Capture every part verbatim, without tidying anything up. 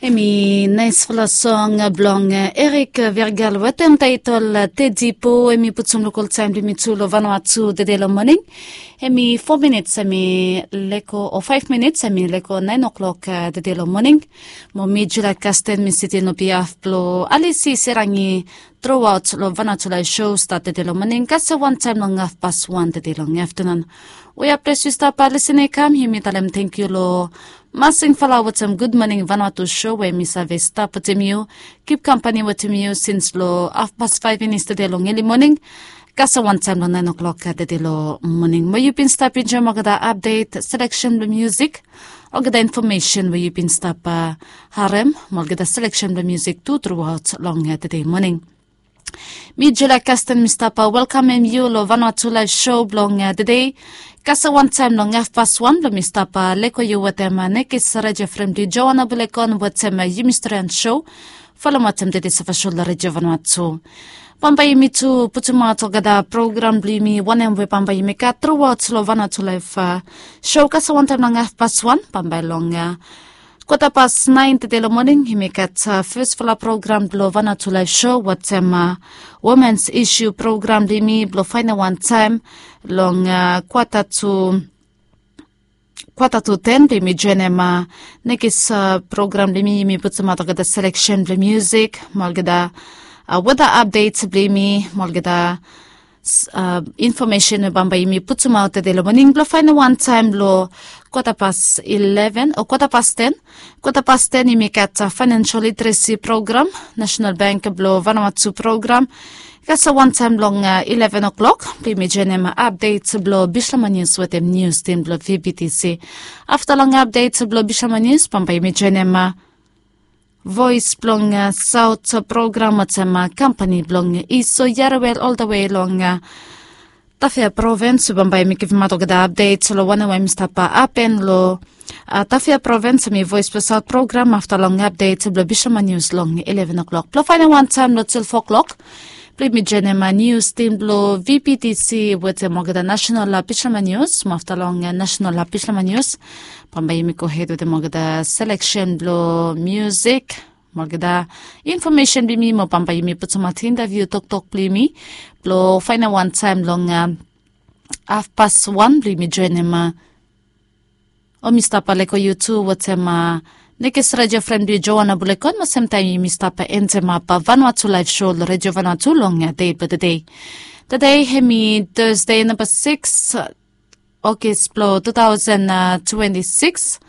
Em i naesfala song blong Erik Vergal wetem taetol Tedipo. Em i putum lokol taem blong yumi tu long Vanuatu tede long moning. Em i fo minits em i leko o faef minits em i leko naen oklok tede long moning. Mo mi Julia Kasten mi sitin long biaf blong Alisi Serangi truaot long Vanuatu laef sho stat tede long moning kasem wantaem long hafpas wan tede long aftenun. Wea ples yu stap lisin i kam yumi talem tangkiu long Masing Fala wetem Gud Moning Vanuatu sho we mi save stap wetem yu, kip kampani wetem yu sins long hafpas faef finis tede long eli moning kasem wantaem long naen oklok tede long moning. Mo yu bin stap enjoem olgeta apdet, seleksen blong musik, olgeta infomesen we yu bin stap harem, mo olgeta seleksen blong musik tu truaot long tede moning. Mi Julia Kasten mi stap welkamem yu long Vanuatu laef sho blong tede. Kasem wantaem long hafpas wan blong mi stap leko yu wetem nekis redio frem blong yu Joana Bulekon wetem yumi storian sho. Folem wetem tede safasho long redio Vanuatu. Bambae yumi tu putumaot olgeta program blong yumi wanem we bambae yumi gat truaot long Vanuatu laef sho kasem wantaem long hafpas wan bambae long kwata pas naen tede long moning yumi gat fesfala program blong Vanuatu laef sho wetem womens isu program blong yumi blong faenem wantaem long kwata tu kwata tu ten blong yumi joenem nekis program blong yumi yumi putumaot olgeta seleksen blong musik mo olgeta weta apdets blong yumi mo olgeta infomesen we bambae yumi putumaot tede long moning blong faenem wantaem long kwata pas ileven o kwata pas ten. Kwata pas ten yumi gat faenensel literesi program, Nasenal Bank blong Vanuatu program. Kasem wantaem long ileven oklok blong yumi joenem apdets blong Bishlama Nius wetem nius tim blong V B T C. Afta long apdets blong Bishlama Nius bambae yumi joenem voes blong saot program wetem kampani blong Iso Yarewel oldawe long Tafea provins we bambae yumi givimaot olgeta apdets long wanem we yumi stap hapen long Tafea provins em i voes blong saot program afta long apdets blong Bishlama Nius long ileven oklok blong faenem wantaem long twelve oklok blong yumi joenem nius tim blong V B T C wetem olgeta nasenal Bishlama Nius mo afta long nasenal Bishlama Nius bambae yumi gohed wetem olgeta seleksen blong musik mo olgeta infomesen blong yumi mo bambae yumi putumaot intaviu toktok blong yumi blong faenem wantaem long hafpas wan blong yumi joenem o mi stap leko yu tu wetem nekis redio fren blong yu Joana Bulekon mo semtaem yumi stap entemap Vanuatu laef sho long redio Vanuatu long dei blong tede. Tede em i Tasde namba sikis Ogis blong tu taosen twenti sikis.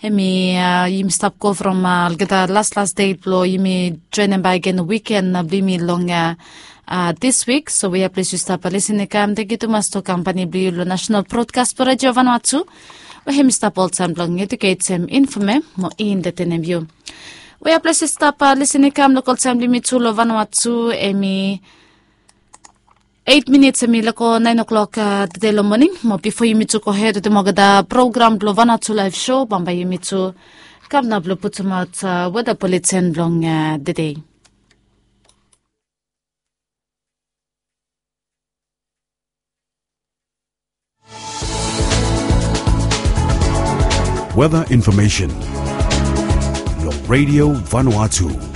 Em i yumi stap go from olgeta laslas dei blong yumi joenem bakegen wiken blong yumi long dis wik. So wea ples yu stap lisin i kam tangkiu tumas tu kampani blong yu long Nasenal Brodkas blong Redio Vanuatu we em i stap oltaem blong ejuketem, infomem mo entetenem yu. Wea ples yu stap lisin i kam long oltaem blong yumi tu long Vanuatu em i eit minits em i leko naen oklok tede long moning mo bifo yumi tu gohed wetem olgeta program blong Vanuatu laef sho bambae yumi tu kam nao blong putumaot weta buletin blong tede. Weta infomesen long Redio Vanuatu.